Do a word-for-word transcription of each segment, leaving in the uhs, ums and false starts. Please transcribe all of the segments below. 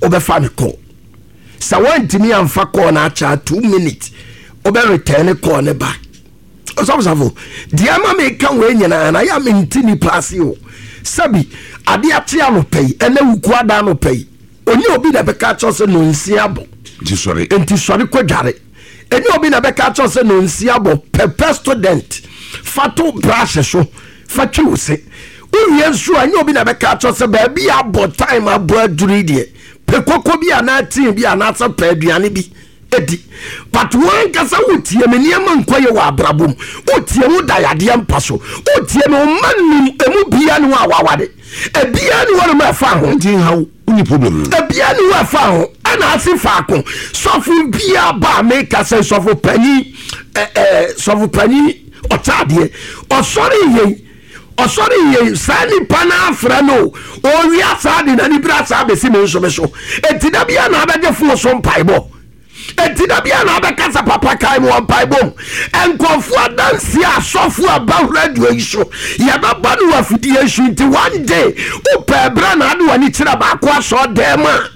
Wobɛfa me call sɛ woantumi amfa call no akyɛ two minutes, wobɛ return call ne back. Ɔsɔfosafo deɛ ma meka wei nyinaa na yɛ mente nipa ase o. Sɛbi, adeɛ ate anɔpa yi, ɛnɛ wuku ada anɔpa yi, onye obi na ɛbɛka kyerɛ sɛ nonsia abɔ. Nti sɔre. Nti sɔre kɔ dware. Ɛnyɛ obi na ɛbɛka kyerɛ sɛ nonsia abɔ pɛpɛ. Student, fa to brush so, fa twi wo se. Wowie nso a, ɛnyɛ obi na ɛbɛka kyerɛ sɛ baabi abɔ time abɔ aduru yi deɛ, pɛ koko bi anaa tii bi anaasɛ pɛ aduane bi edi. But wɔn ankasa wotie me, nneɛma nkɔ yɛ wɔ abrabɔ mu. Wotie wo da yadeɛ mpa so. Wotie me, ɔma nim emu bia ne hɔ a wawade ebia ne hɔ nom ɛfa ho. Nti nhaw wonni problem no. Ebia ne hɔ ɛfa ho ɛna ase faako. Sɔfo bia ba a meka sɛ sɔfo panyin, ɛ ɛ sɔfo panyin ɔkyaadeɛ, ɔsɔre yɛn, ɔsɔre yɛn saa nipa no afrɛ no owia saa de n'ani bere saa bɛsi me nso me so. Eti da bia na abɛgye fo so mpaebɔ. Eti da bia na abɛka sɛ, "Papa, kae mu wɔ mpaebɔ mu." Nkɔfoɔ adanseɛ, asɔfo a ba radio yi so, yɛbɛbɔ no wɔ afidie so. Nti one day wopɛ berɛ na ade w'ani kyerɛ baako asɔ dɛm a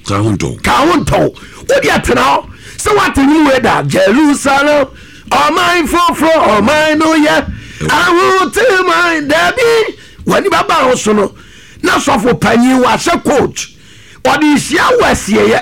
ka ho ntɔw. Ka ho ntɔw. Wode atena hɔ sɛ woate nwom wei da, "Jerusalem ɔman foforɔ, ɔman no yɛ ahoteman." Daabi, w'ani bɛba ho so no na sɔfo panyin wahyɛ coat, ɔde hyia wɔ asieɛ.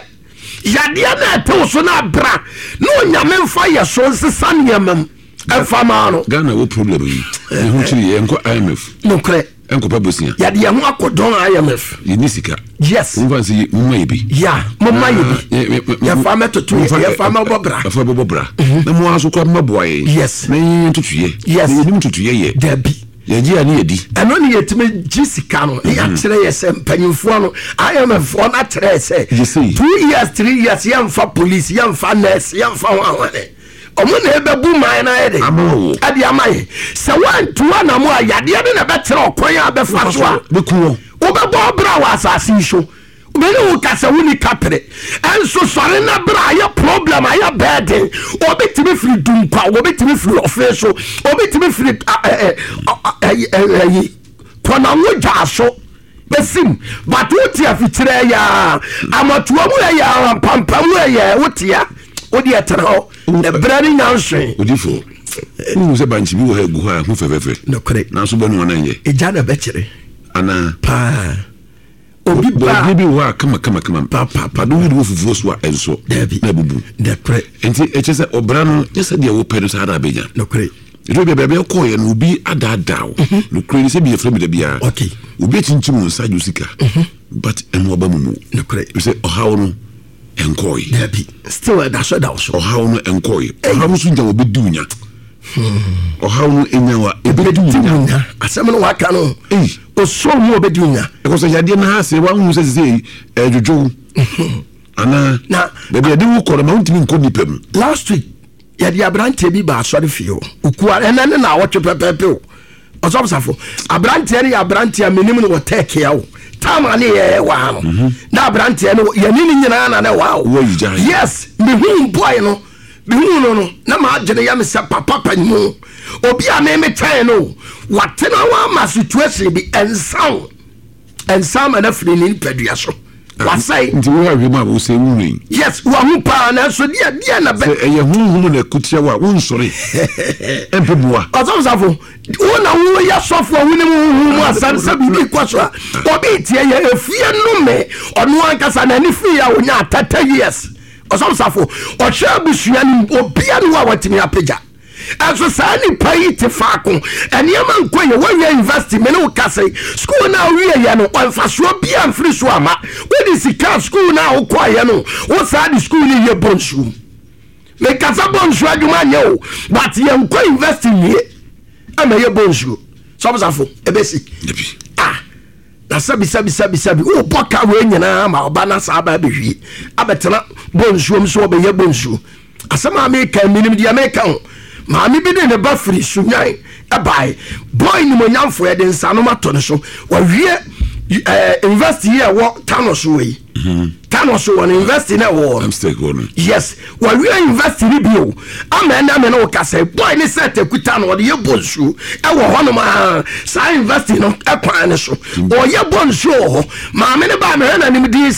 Yadeɛ na ɛtew so no abra na Onyame mfa yɛ so nsesa nneɛma mu ɛmfa maa no. Ghana wo problem yi ne ho kyerɛ yɛ nkɔ I M F. Nokorɛ. Ɛnkɔpɛ bosia. Yɛde yɛn ho akɔdɔn I M F. Yɛni sika. Yes. Momfa sɛ momma yɛ bi. Ya, momma yɛ bi, yɛfa mɛtoto yɛ, yɛfa mɛbɔ bra. Yɛfa bɛbɔ bra na mo ara so koraa mɛboa yɛn. Yes. Na yɛn ntotuyɛ. Yes. Na yɛnim ntotuyɛ yɛ. Dabi. Yɛgye a ne yɛdi. Ɛno ne yɛtumi gye sika no ne yɛakyerɛ yɛ sɛ mpanyimfoɔ no, I M F foɔ no akyerɛ yɛ sɛ Yɛsei. two years, three years, yɛmfa police, yɛmfa nurse, yɛmfa ho ahwane. Ɔmo na ɛbɛbu man no ayɛ de ama wo. Ɛde ama yɛ sɛ woantu anamo a, yadeɛ no na ɛbɛkyerɛ ɔkwan a bɛfa so a bɛku wɔ. Wobɛbɔ bra wɔ asase yi so. Mene wo kasa, woni kapere ɛnso sɔre na bra. Ayɛ problem, ayɛ bɛɛden. Obi tumi firi Dunkwa, obi tumi firi ɔfe so, obi tumi firi ɛyi kɔnanwo dwa so esim, but wote afikyerɛ yɛ a, amatoa mu yɛ a, mpampam yɛ, wote a, wode ɛtena hɔ na berɛ no nya nsoe. Odifo, wohu sɛ bankye bi wɔ ha egu hɔ a ɛho fɛfɛɛfɛ. Nokorɛ. Nanso bɛnu ana nyɛ. Ɛgya na bɛkyerɛ. Anaa? Paa, obi ba baabi bi wɔ hɔ a kama kama kama. Pa, pa, pa. Ade wode wɔ fufuo so a ɛnsɔ. Dabi. Na abubu. Nokorɛ. Nti ɛkyɛ sɛ ɔbra no nyɛ sɛ deɛ wopɛ no saa na abɛnya. Nokorɛ. Ɛduru baabi baabi ɛkɔɔyɛ no, obi adaadaa wo. Nokorɛ ni sɛ bi yɛfrɛ me da biara. Okay. Obi akyinkyim wo nsa agye wo sika, but ɛno ɔba mu mu. Nokorɛ. Sɛ ɔhaw no ɛnkɔɔyɛ. Dabi, still ɛda so da wo so. Ɔhaw no ɛnkɔɔyɛ. Ɔhaw no so nya wɔ bɛdi wo nya. Ɔhaw no ɛnya wa ɛbɛdi wo bɛdi nya. wo nya. Asɛm no waka no. Ei. Ɔsɔ mu a, ɔbɛdi wo nya. Ɛkɔ sɛ yadeɛ no ha sɛ woahu sɛ sɛ ɛdwodwo wo anaa Na- baabi ade wo kɔ no ma wontumi nkɔ nnipa mu. Last week yɛde aberanteɛ bi ba asɔre fie hɔ okua. Ɛnɛ ne na awɔtwe pɛpɛɛpɛ o. Ɔsɔfosafo, aberanteɛ no yɛ aberanteɛ a menim no wɔ tɛɛkea o. Tam a ne yɛyɛ wɔ ha no na aberanteɛ no yɛne ne nyinaa na ne wɔ ha o. Wɔyi gyae. Yes, mehu boy no, mehu no no na maadwene yɛ me sɛ papa panyimu obi a meme kyɛn no watena hɔ ama situation bi ɛnsaw ɛnsa ama no afiri ne nipadua so, wasɛe. Nti wo ahwɛ mu a wosɛ wohwei. Yes, wahu paa, nanso deɛ deɛ na bɛ sɛ ɛyɛ honhom na ɛkotia wo a, wonsɔre ɛmpɛ boa. Ɔsɔfosafo, wo na woyɛ sɔfo a wonim honhom mu asɛm sɛ biribi kɔ so a, obi tie yɛ efie nnome. Ɔno ankasa n'ani fii a onya thirty years. Ɔsɔfosafo, ɔhwɛ abusua no, obia ne wo a watumi apagya. Ɛnso saa nipa yi te faako, nneɛma nkɔ yɛ. Wɔwie university, me ne wo kase, school na wowie yɛ no, ɔmfasoɔ bia mfiri so ama wode sika. School na wokɔɔyɛ no, wo saa de school no yɛ bɔ nsuom. Mekasa bɔ nsuo adwuma nyɛ o, but yɛnkɔ university nwie ama yɛ bɔ nsuo. Sɔbosafo, ɛbɛsi. Dabi. Ah, na sɛbi sɛbi sɛbi sɛbi, wobɔ ka wei nyinaa ma ɔba na saa aba abɛhwie abɛtena bɔ nsuom so ɔbɛyɛ bɔ nsuo. Asɛm a meka, menim deɛ meka ho. Maame bi de ne ba firi Sunyan ɛbae. Boy nimonyamfo, yɛde nsanom ato ne so. Wawie ɛɛ university yi a ɛwɔ Tano so wɔ yi, Tano so wɔ no, university na ɛwɔ hɔ no. Amstec hɔ no. Yes, wawie university ni bio ama ɛna me ne wo kasa. Boy ne sɛ tekuta no ɔde yɛ bɔ nsuo ɛwɔ hɔnom a saa university no ɛkwan ne so, ɔyɛ bɔ nsuo wɔ hɔ. Maame ne ba mehwɛ n'anim din sɛ